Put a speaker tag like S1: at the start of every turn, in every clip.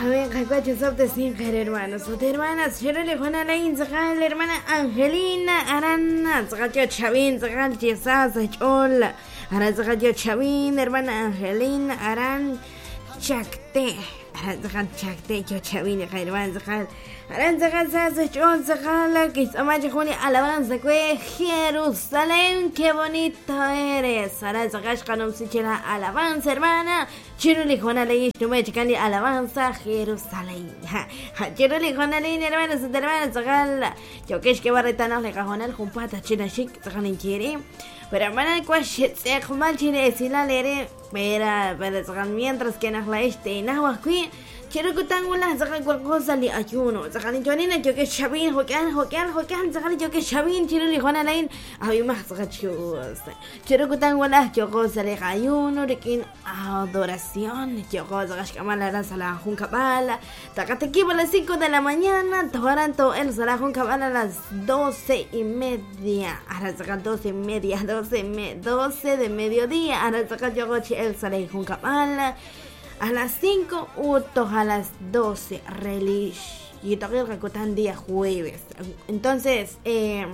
S1: Amén, qakuacho sobtesin hermanos, ut hermanas, xeruli jonalain tzaqal hermana Angelina Arana, tzaqal yo Chavin, tzaqal chisa ch'ol, Aran tzaqal yo Chavin, hermana Angelina Aran Chacte, Aran tzaqal Chacte yo Chavin, hermana tzaqal, Aran tzaqal sa ch'ol tzaqal, kis'amachi juni alabanza kwe Jerusalén, qué bonito eres, Aran tzaqal xqanumsichela alabanza hermana. Chiruli Jonalei, Chikali alabanza Jerusalén. Chiruli Jonalei, hermanos, hermanas, tzaqal, yokesh que barretana le cajonal jumpata chinashik, tzaqal quiere. Pero hermana, cuash mal chine esilal pero tzaqal mientras que la este nahuacui. Chirukutan wala tzaqal cual cosa li ayuno. Tzaqal chonina yokesh chabin, jokan, jokan, jokan, tzaqal yokesh chabin, chiruli Jonalei, abimas tzaqal chus. Chirukutan wala yokosa le ayuno, rikin adoración, yokosa gashkamala sala junkabala. Takatekibo a las 5 de la mañana, toranto el sala junkabala a las 12:30. Ahora saca 12:30, 12 de mediodía. Ahora saca yogochi el sala junkabala. A las 5, utos a las 12, relish. Y toque el día jueves. Entonces, y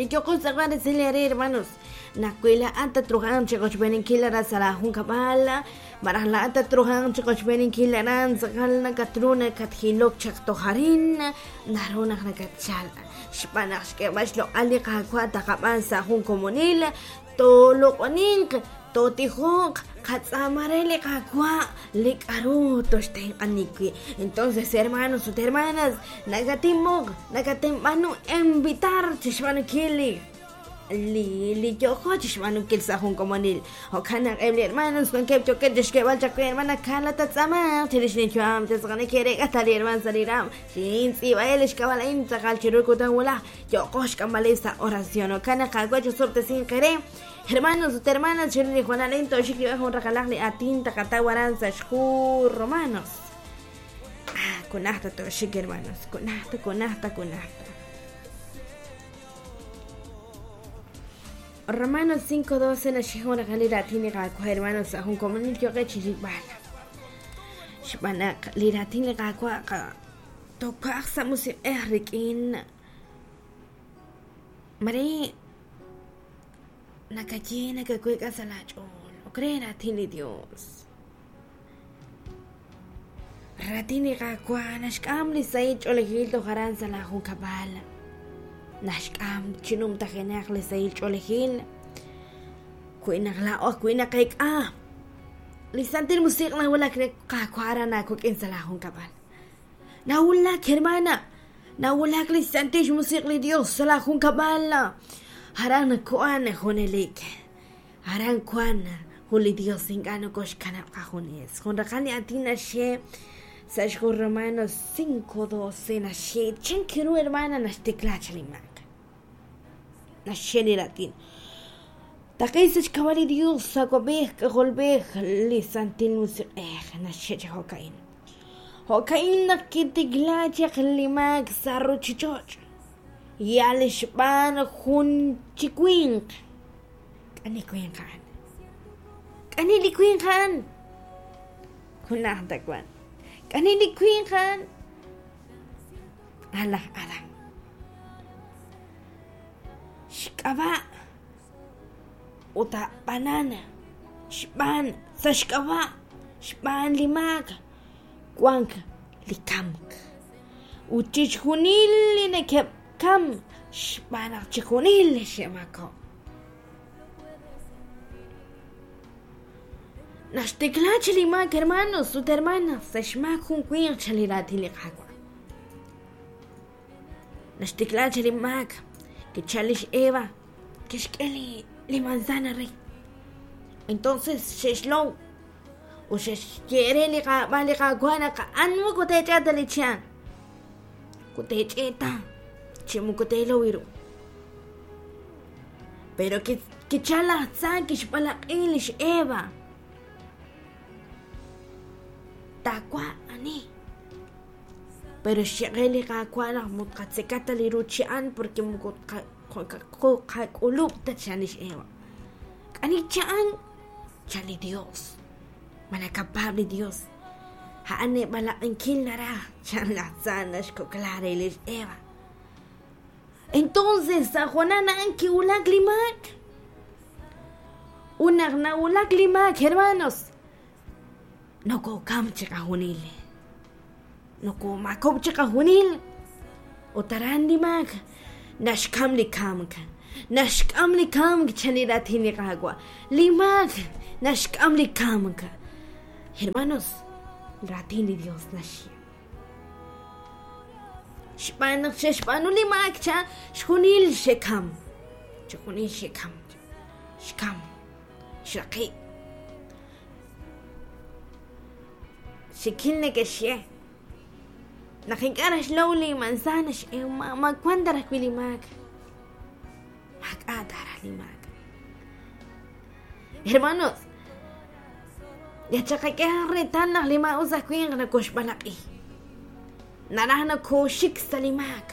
S1: yo cosa voy a decirle, hermanos, nakuila ata trujan chicos ven kilara sala junkabala, marajla ata trujan chicos ven kilaran, sakalna katruna kathilok chaktojarin, naruna nakachala. Shpanash que bashlo ali kakwa takapan sa jun komunil, tolokonink, totijok, katzamarele kakwa, likaru toshten anikui. Entonces, hermanos, hermanas, nagatimok, nagatimanu invitar chishmanukili. Li yojo chishmanukil sa jun komunil. Okana ebli hermanos, con que choque tishkebal chakwe hermana kala tatzama, chirishnichuam, tezgane kere gatali herman saliram. Shin sibael ishkabalain tzakal chirukutan wala, yokosh kamalesa oración. Okana kakwa sorte sin querer. Hermanos, hermanas, chiruli Juanalento, shikri bajo rakalakli atin takatawaranza shku romanos. Ah, kunahta to shik hermanos, kunahta, kunahta, kunahta. Romanos 5:12 na shikho rakalira tini ka hermanos ahun komunil yoke chiribala. Shbanak liratin ka kwa ka topak sa musik erikin. Mari nakaye nakakuika sa lachol. O creen a ti ni Dios. Ratini kakwa nashkam li saich olejil tojaran sa la junkabal. Nashkam chinum tajenak li saich olejil. Kuinakla o kuinakaik ah. Li santil musik na wala kakwara na kukin sa la junkabal. Naulak hermana. Naulak li santil musik li Dios sa la junkabal. Haran kuan jonelik. Haran kuan juli Dios ingano koshkanap kajunes. Con rakani atina she sashko Romanos 5:12 na she chinkiru hermana nashtiklachlimak. Nasheni latin. Takay kawali Dios sakobeh golbeh li santil musik nashe hokain. Hokain nakitiglachak limak saruchichoch. Yalishban jun chikwink. Kani kwinkan. Kani likwinkan. Kunahta kwan. Kani likwinkan. Ala ala. Shkaba. Uta banana. Shban. Sashkaba. Shban limak. Kwank likamk. Uchichunil nekep. Kam shbanak chikunil shemako. Nashtikla chilimak hermanos, sut hermanas, sashmak jun kwin chaliratiliqakwa. Nashtikla chilimak, que chalish Eva, que shkeli li manzana rey. Entonces sheshlon, o sheshkere liqa baliqakwana ka anmu kutechata lichan. Kutecheta. Chimukotelo. Pero que chala tsan que xpalaqilish Eva. Takwa ani. Pero xeqeli qakwana mutqatsekata liruchian porque mukotqaqulupta chanish Eva. Kani chan chali Dios. Manakapable Dios. A'an eeb'alaq'inkil naraj, chan laj tza naxkokla re lix Eva. Entonces sa' hoonal a'an kiwulak li maak. Ut naq nawulak li maak, hermanos, nokokam chiqajunil. Nokomaakob'k chiqajunil. Ut aran li maak naxkam li kamk. Naxk'am li kamk chan li raatin li Qaawa'. Li maak naxk'am li kamk. Hermanos, raatin li Dios naxye. Xb'aan naq xe'xb'aanu li maak cha xjunil xe'kam. Chixjunil xe'kam. Xkam. Xraqi'. Xikil neke'xye naq ink'a' naxlow li manzana ma wan ta raj wi' li maak. Maak'a' ta raj li maak. Hermanos, yachaqak'e reetal naq li maa'us aj winq nakoxb'alaq'i. Naraj nakooxik sa' li maak.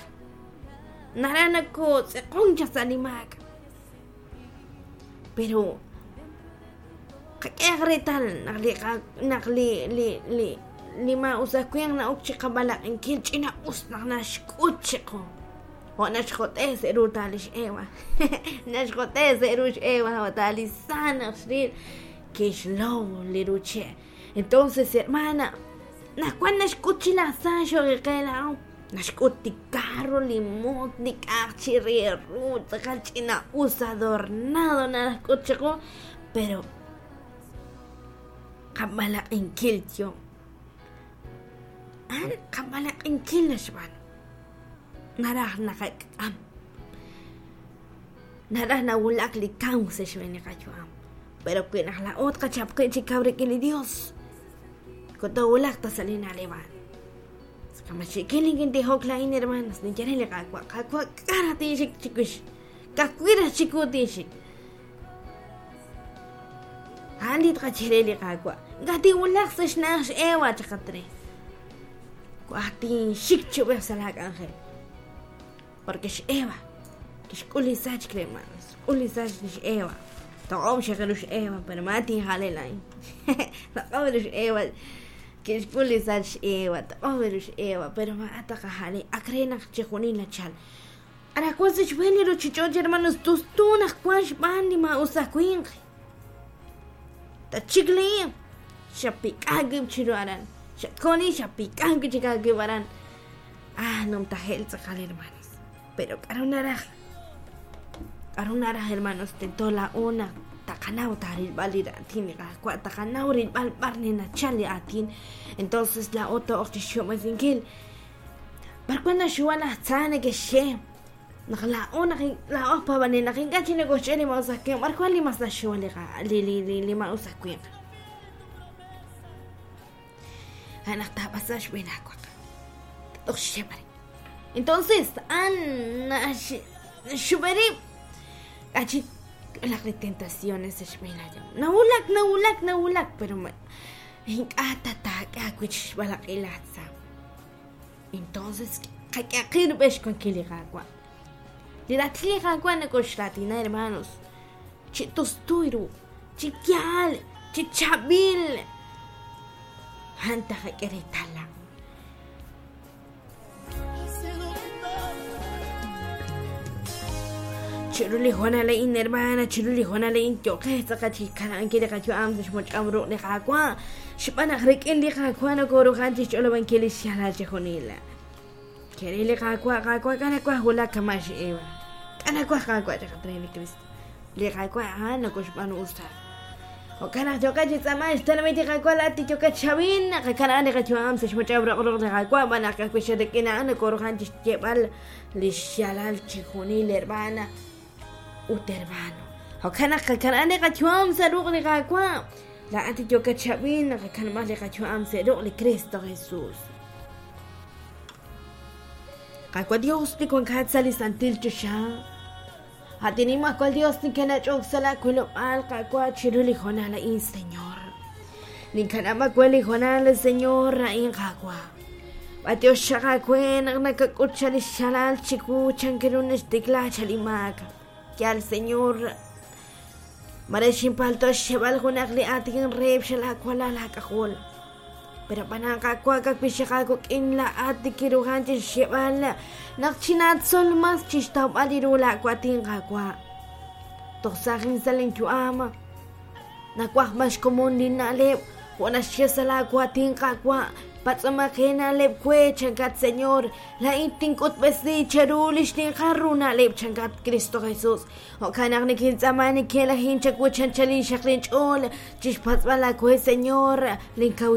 S1: Naraj nakootz'eqon chaq sa' li maak. Pero qak'ehaq reetal naq li naq li li li li maa'us aj winq na'ok chi qab'alaq'inkil ch'ina us naq naxk'ut chiqu. Jo' naxjot'e sa' ru ta lix Eva. Naxjot'e sa' ru xEva jo' ta li sa naq xril kixlow li ru che'. Entonces, hermana, naq wan naxk'ut chi laj Tza xoqiqe laa'o, naxk'ut li carro, li mot, li k'a'aq chi re ru, tz'aqal ch'ina-us adornado naxk'ut chiqu, pero qab'alaq'inkil yo. A'an qab'alaq'inkil naxb'aanu. Naraj naqak'am. Naraj nawulak li kamk sa' xb'een li qayu'am. Pero wi naq laa'o tqachap qib' chi kaw rik'in li Dios, moko toowulaq ta sa' li na'leb' a'an. Kama xiikil ninkintijok laa'in, hermanos, ninye re li Qaawa', Qaawa', k'a' raj tinxik chiwix? Ka'ajwi' raj chiwu tinxik. A'an li tqaye re li Qaawa'. Ink'a' tinwulaq sa' xna'aj x'Eva chaqat re. Waj tinxik chi ub'ej sa' laa k'anjel. Porque x'Eva kixk'ul li sachk, hermanos. Xk'ul li sachk li x'Eva. Toq'ob' xaq ru x'Eva, pero ma tinjale laa'in. Toq'ob' ru x'Eva. Kixk'ul li sachk x'Eva, toq'ob' ru x'Eva, pero ma taqajale. Ak re naq chixjunil nachal. Anaqwan sa' xb'een li ruchich'och', hermanos, tustu naq wan xb'aan li maa'us aj winq. Tachik li xapik'a wib' chiru aran. Xatkoni xapik'a wib' chik aawib' aran. Ah, numtajel tz'aqal, hermanos. Pero k'a'ru naraj? K'a'ru naraj, hermanos? Tento laa'o naq taqanaw taarilb'al li raatin li Qaawa', taqanaw rilb'al b'ar nenachal li aatin. Entonces laa'o to'oq chixxob'esinkil. B'ar wan naxuwa laj tza neke'xye naq laa'o naq laa'o aj paab'anel naq ink'a' chik nokoxch'e li maa'us aj winq, b'ar wan li mas naxuwa li li li li li maa'us aj winq? A'an naq taab'asa xb'een aawaq. Toj xxeb'ari. Entonces, a'an naxxub'e rib'. K'a' laq li tentaciones sa' xb'een aayam. Nawulak, nawulak, nawulak, pero ink'a' ta taak'e aawib' chi xb'alaq'i laj tza. Entonces, qak'ehaq qib' rub'el xwankil li Qaawa'. Li raatin li Qaawa' nokoxraatina, hermanos, chi tustu ru, chi yaal, chi chaab'il. A'an taqak'e reetal laa'o. Chiru li hoonal a'in, hermana, chiru li hoonal a'in yooqex tz'aqal chi kana'ankil li qayu'am sa' xmoch'am ruq' li Qaawa', xb'aan naq rik'in li Qaawa' nokoruhan chixch'olob'ankil lix yaalal chixjunil. Kere li Qaawa', Qaawa', k'a' nawaj wulak kama' x'Eva. K'a' nawaj, Qaawa', chaqat re li Kristo. Li Qaawa' a'an nokoxb'aanu usta. Jo'kan naq yooqat chi tz'aamank xtenamit li Qaawa' laa'at li yookat xawin, qakana'an li qayu'am sa' xmoch'ab' roq ruq' li Qaawa', b'an naq ka'ajwi' xa rik'in a'an nokoruhan chi xyeeb'al li xyaalal chixjunil hermana ut hermano. Jo'kan naq qakana'an li qayu'am sa' ruq' li Qaawa', laa'at li yookat xawin, qakanab'aq li qayu'am sa' ruq' li Kristo Jesus. Qaawa' Dios li wankat sa' li santil choxa, At Nimajwal Dios, nikinach'ok sa' laa wilob'aal, Qaawa', chiru li hoonal a'in, Señor. Ninkanab' aawe li hoonal, Señor, a'in, Qaawa'. B'antiox xaq aawe naq nakak'ut chaq li xyaalal chiwu chan ru naxtikla chaq li maak. Yaal, Señor, mare xinpalto' xxeb'al junaq li aatin reheb' xal aawalal aak'ajol. Pero ab'anan Qaawa' ka'ajwi' xaq aawik'in laa'at nikinruhan chi xyeeb'al naq chinaatzol mas chi xtawb'al ru laawaatin Qaawa'. Toj saajin sa' linyu'am, nawaj b'an xkomon linna'leb' jo' naxye sa' laawaatin Qaawa', patz'omaq eena'leb' we, chankat Señor, laa'in tink'utb'esi cheru li xninqal ru na'leb', chankat Cristo Jesús. Jo'kan naq nikintz'aama nikelajin chawu chanchalin xaq linch'ool chi xpatz'b'al aawe Señor, linkawil.